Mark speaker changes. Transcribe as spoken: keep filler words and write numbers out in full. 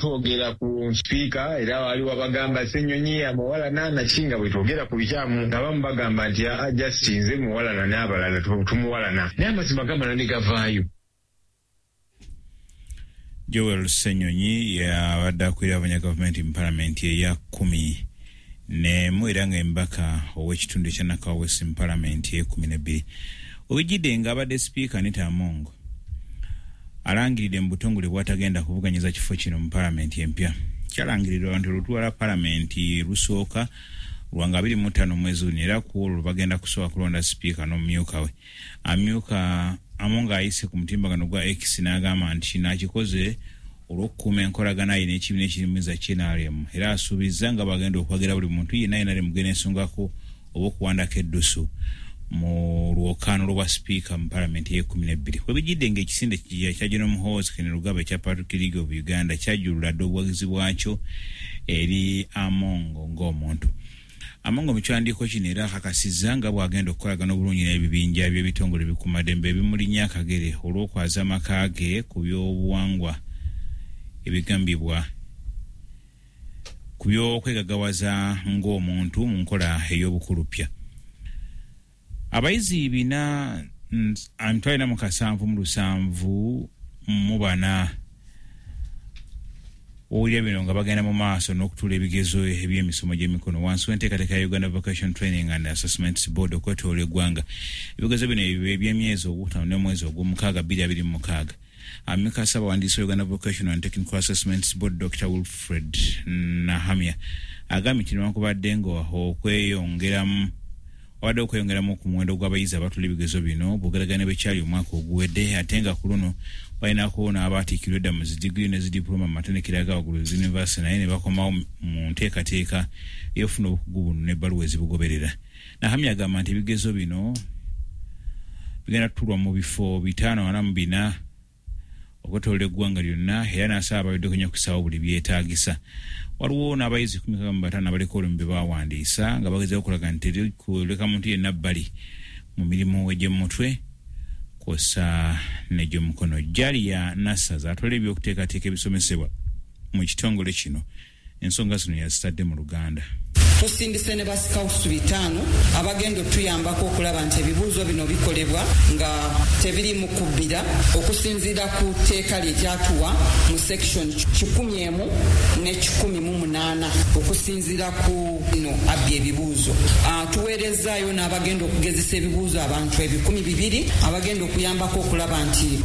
Speaker 1: Twogera ku sipiika, era waliwo abagamba Ssenyonyi amuwalana naki, nga bwe twogera ku bikyamu nga abamu bagamba nti aa just nze muwalana n'abalala tumuwalana, naye amazima gamala ne gavaayo.
Speaker 2: Joel Ssenyonyi yabadde akulira abanya gavumenti mu palamenti eya kumi n'emu, era nga embaka ow'ekitundu ekya Nakawa West mu palamenti ey'ekumi n'ebbiri. Obijjidde nga abadde sipiika Anita Among alangiridde mu butongole bw'atagenda kuvuganyiza kifo kino mu palamenti empya. Kyalangirirwa nti olutwala palamenti lusooka lwanga abiri mu ttaano mwezi guno, era ku olwo bagenda kusooka kulonda sipiika n'omumyuka we. Amyuka Among ayise ku mutimbagano gwa X n'agamba nti kino akikoze olw'okukuuma enkolagana ye n'ekibiina ekirimuza N R M, era asuubizza nga bagenda okwagira buli muntu yenna N R M genda ensongako oba okuwandako eddusu mu lwokaano lwa sipiika mu palamenti ey'ekumi n'ebbiri. Webijjidde ng'ekisinde kya General Muhoozi Kainerugaba ekya Patriotic League of Uganda kyajjulula dda obuwagizi bwakyo eri Among ng'omuntu. Among mu kiwandiiko kino era akakasizza nga bw'agenda okukolagana obulungi n'ebibinja by'ebitongole bikuumaddembe ebimulinnya akagere olw'okwaza amaka ge ku by'obuwangwa ebigambibwa ku by'okwegagawaza ng'omuntu mu nkola ey'obukulupya. Abayizi bina emitwalo ena mu kasanvu mu lusanvu mu bana owulira bino nga bagenda mu maaso n'okutuula ebigezo eby'emisomo gy'emikono wansi w'enteekateeka ya Uganda Vocation Training and Assessments Board okwetoola eggwanga. Ebigezo bino eby'emyezi ogutaano n'omwezi ogw'omukaaga bbiri abiri mu mukaaga. Amyuka Ssaabawandiisi wa Uganda Vocational and Technical Assessments Board, Doctor Wilfred Nahamya, agambye nti newankubadde nga okweyongeramu wabadde okweyongeramu ku muwendo gw'abayizi abatula ebigezo bino bw'ogeraganya bekyali omwaka oguwedde, ate nga ku luno balinako n'abaatiikirwa edda mu zidigiri ne zidiploma mu matendekero aga waggulu zuniversity, naye ne bakomawo mu nteekateeka ey'okufuna obukugu buno n'ebbaluwa ezibugoberera. Nahamya agamba nti ebigezo bino bigenda tutulwa mu bifo bitaano ana mu bina okwetoloola eggwanga lyonna, era n'asaba ababiddeko nnyo okusaawo buli byetaagisa. Waliwo n'abayizi kumi mu bataano abaliko olumu be bawandiisa nga bagezaako okulaga nti terikuleka muntu yenna bbali mu mirimu egy'omutwe kw'ossa n'egy'omukono. Jalia Nassaza atwala ebyokuteekateeka ebisomesebwa mu kitongole kino, ensonga zino yazitadde mu Luganda.
Speaker 3: Tusindise ne basikawusu bitaano abagenda otuyambako okulaba nti ebibuuzo bino bikolebwa nga tebiri mu kubbira, okusinziira ku tteeka lye kyatuwa mu section kikumi emu ne kikumi mu munaana okusinziira ku no abbi ebibuuzo. uh, tuweerezaayo n'abagenda okugezesa ebibuuzo, abantu ebikumi bibiri abagenda okuyambako okulaba nti